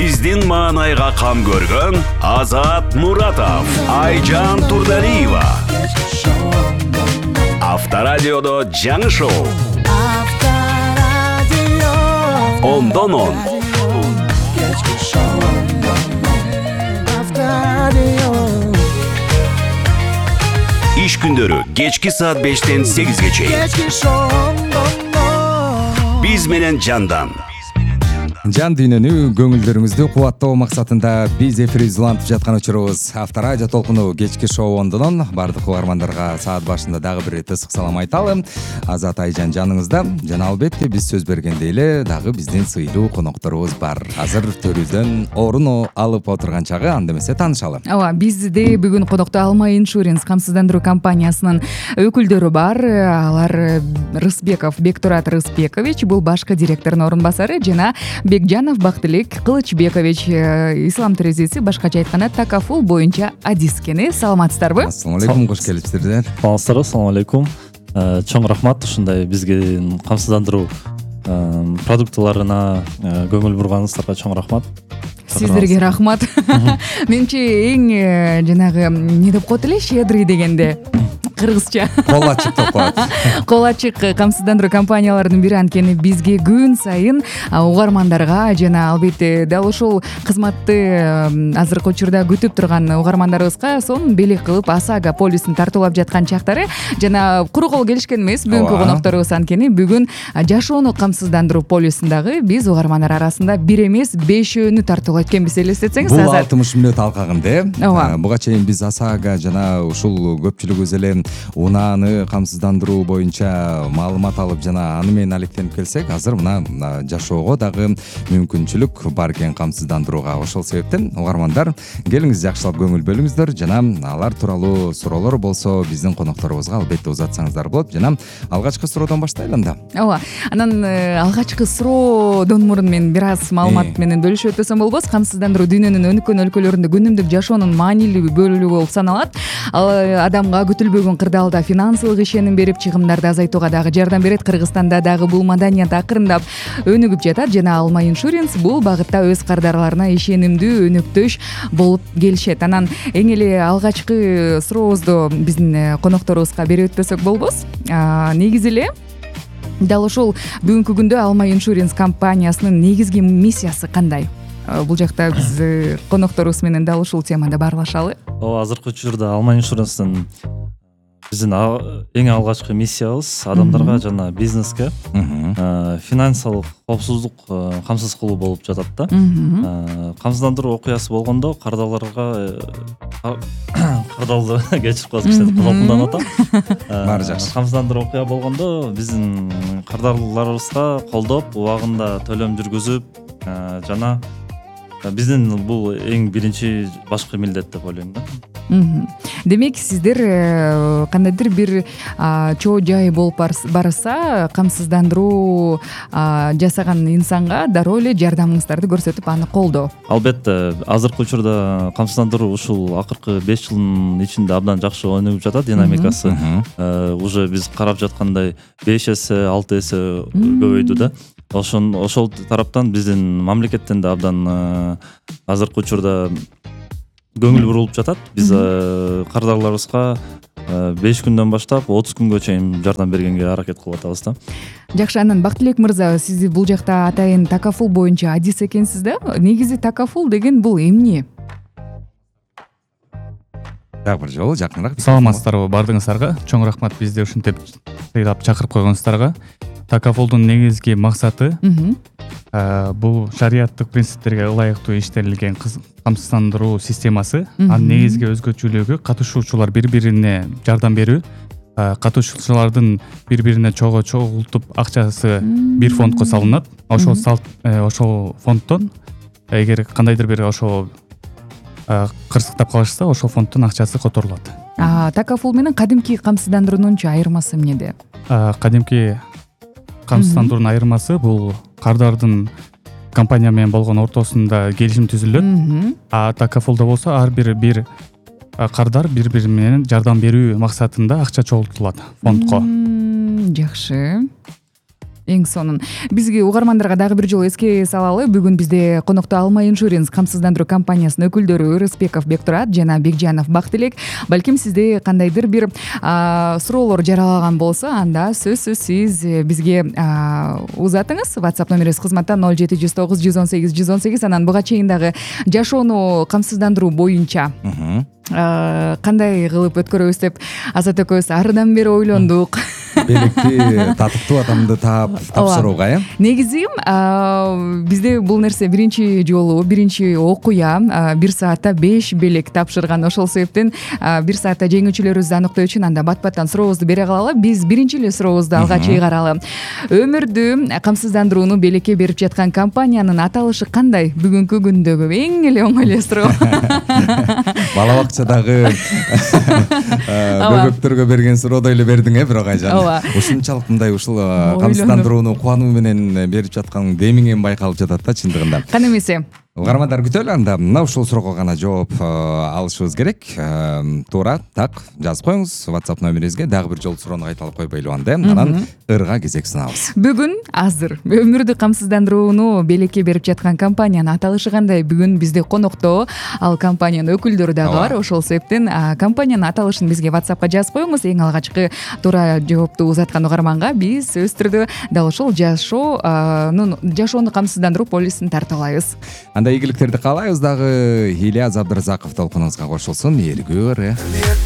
Биздин маанайга кам көргөн Азат Муратов, Айжан Турдалиева. Авторадиодо жаңы шоу. Ондон он. Иш күндөрү кечки саат 5-тен 8-ге чейин. Биз менен жандан. Жан дүйнөнү, көңүлдөрүңүздү кубаттоо максатында биз эфирибизди улантып жаткан учурубуз Авторадио толкуну кечки шоу ондон. Бардык угармандарга саат башында дагы бир ысык салам айталы. Азат, Айжан жаныңызда. Жана албетте биз сөз бергендей эле дагы биздин сыйлуу конокторубуз бар. Азыр төрүздөн орун алып отурган чагы, анда эмесе таанышалы. Ооба, бизде бүгүн конокто Алма Иншуренс камсыздандыруу компаниясынын өкүлдөрү бар. Алар Рысбеков Бектурат Рысбекович, бул башкы директордун орун басары, жана Бекжанов Бактылек Кылычбекович, ислам терезеси, башкача айтканда такафул боюнча адискени. Саламатсыздарбы? Ассалам алейкум, кош келипсиздер. Саламатсыздарбы, ассалам алейкум. Чоң рахмат ушундай бизге камсыздандыруу продуктыларына көңүл бурганыңыздарга чоң рахмат. Сиздерге рахмат. Менимче эң жанагы эмне деп коет эле, щедрый дегенде кыргызча Кол ачык деп коет. Кол ачык камсыздандыруу компанияларынын бири. Анткени бизге күн сайын угармандарга жана албетте дал ушул кызматты азыркы учурда күтүп турган угармандарыбызга сонун белек кылып ОСАГО полисин тартуулап жаткан чактары жана куру кол келишкен эмес бүгүнкү конокторубуз. Анткени бүгүн жашоону камсыздандыруу полисиндагы биз угармандар арасында бир эмес 5-өөнү тартуулайт экенбиз, элестетсеңиз. Бул 60 мүнөт алкагында Ооба. буга чейин биз ОСАГО жана ушул көпчүлүгүбүз эле унааны камсыздандыруу боюнча маалымат алып жана аны менен алектенип келсек, азыр мына жашоого дагы мүмкүнчүлүк бар экен камсыздандырууга. Ошол себептен угармандар келиңиз, жакшылап көңүл бөлүңүздөр жана алар тууралуу суроолор болсо биздин конокторубузга албетте узатсаңыздар болот. Жана алгачкы суроодон баштайлы анда. Ооба. Анан алгачкы суроодон мурун мен бир аз маалымат менен бөлүшүп өтсөм болбос. Камсыздандыруу дүйнөнүн өнүккөн өлкөлөрүндө күнүмдүк жашоонун маанилүү бөлүгү болуп саналат. Ал адамга күтүлбөгөн кырдаалда финансылык ишеним берип, чыгымдарды азайтууга дагы жардам берет. Кыргызстанда дагы бул маданият акырындап өнүгүп жатат жана Алма Иншуренс бул багытта өз кардарларына ишенимдүү өнөктөш болуп келишет. Анан эң эле алгачкы сурообузду биздин конокторубузга берип өтпөсөк болбос. Негизи эле дал ушул бүгүнкү күндө Алма Иншуренс компаниясынын негизги миссиясы кандай? Бул жакта биз конокторубуз менен дал ушул темада баарлашалы. Азыркы учурда Алма Иншуренстин биздин эң алгачкы миссиябыз адамдарга жана бизнеске финансылык коопсуздук камсыз кылуу болуп жатат да. Камсыздандыруу окуясы болгондо кардарларга кардалды кечирип коесуз, кичине кызалтынданып атам. Баары жакшы. Камсыздандыруу окуя болгондо биздин кардарларыбызга колдоп, убагында төлөм жүргүзүп жана биздин бул эң биринчи башкы милдет деп ойлойм да. Демек сиздер кандайдыр бир чоо жай болуп барса, камсыздандыруу жасаган инсанга дароо эле жардамыңыздарды көрсөтүп аны колдоо. Албетте, азыркы учурда камсыздандыруу ушул акыркы 5 жылдын ичинде абдан жакшы өнүгүп жатат, динамикасы. Уже биз карап жаткандай 5 эсе, 6 эсе көбөйдү да. Ошол тараптан биздин мамлекеттен да абдан азыркы учурда көңүл бурулуп жатат. Биз кардарларыбызга 5 күндөн баштап 30 күнгө чейин жардам бергенге аракет кылып атабыз да. Жакшы, анан Бактылек мырза, сиз бул жакта атайын такафул боюнча адис экенсиз да? Негизи такафул деген бул эмне? Дагы бир жолу жакыныраак. Саламатсыздарбы бардыгыңыздарга. Чоң рахмат бизди ушинтип сыйлап чакырып койгонуңуздарга. Такафулдун негизги максаты бул шариаттык принциптерге ылайыктуу иштелинген камсыздандыруу системасы. Анын негизги өзгөчөлүгү катышуучулар бири-бирине жардам берүү. Катышуучулардын бири-бирине чогултуп акчасы бир фондко салынат. Ошол фонддон эгер кандайдыр бир ошол кырсыктап калышса, ошол фонддон акчасы которулат. Такафул менен кадимки камсыздандыруунун айырмасы эмнеде? Кадимки камсыздандыруунун айырмасы бул кардардын компания менен болгон ортосунда келишим түзүлөт. Такафулда болсо ар бир кардар бири-бири менен жардам берүү максатында акча чогултулат фондко. Жакшы. эң сонун. Бизге угармандарга дагы бир жолу эске салалы, бүгүн бизде конокто Алма иншуренс камсыздандыруу компаниясынын өкүлдөрү Рыспеков Бектурат жана Бекжанов Бактылек. Балким сизде кандайдыр бир суроолор жаралаган болсо, анда сөзсүз сиз бизге узатыңыз. WhatsApp номерибиз кызматта 0709 118 118. Анан буга чейин дагы жашоону камсыздандыруу боюнча кандай кылып өткөрөбүз деп Азат экөөбүз арыдан бери ойлондук. Белекти татыктуу адамды таап тапшырууга, Негизи бизде бул нерсе биринчи жолу, биринчи окуя 1 саатта 5 белек тапшырган. Ошол себептен 1 саатта жеңүүчүлөрүбүздү аныктоо үчүн анда бат-баттан сурообузду бере калалы. Биз биринчи эле сурообузду алга чыгаралы. Өмүрдү камсыздандырууну белекке берип жаткан компаниянын аталышы кандай? Бүгүнкү күндөгү эң эле оңой эле суроо. Бала бакчадагы бөбөктөргө берген суроодой эле бердиң, бирок Айжан. Ушунчалык мындай ушул камсыздандырууну кубануу менен берип жаткан демиңен байкалып жатат да чындыгында. Кана эмесе. Угармандар күтөлү, анда мына ушул суроого гана жооп алышыбыз керек. Туура так жазып коюңуз WhatsApp номерибизге. Дагы бир жолу суроону кайталап койбойлу анда. Анан ырга кезек сунабыз. Бүгүн азыр өмүрдү камсыздандырууну белекке берип жаткан компаниянын аталышы кандай? Бүгүн бизде конокто ал компаниянын өкүлдөрү дагы бар. Ошол себептен компаниянын аталышын бизге WhatsAppка жазып коюңуз. Эң алгачкы туура жоопту узаткан угарманга биз сөзсүз түрдө дал ушул жашоону камсыздандыруу полисин тартуулайбыз. Анда ийгиликтерди каалайбыз дагы. Ильяз Абдыразаков толкунуңузга кошулсун. Эргүү ыры.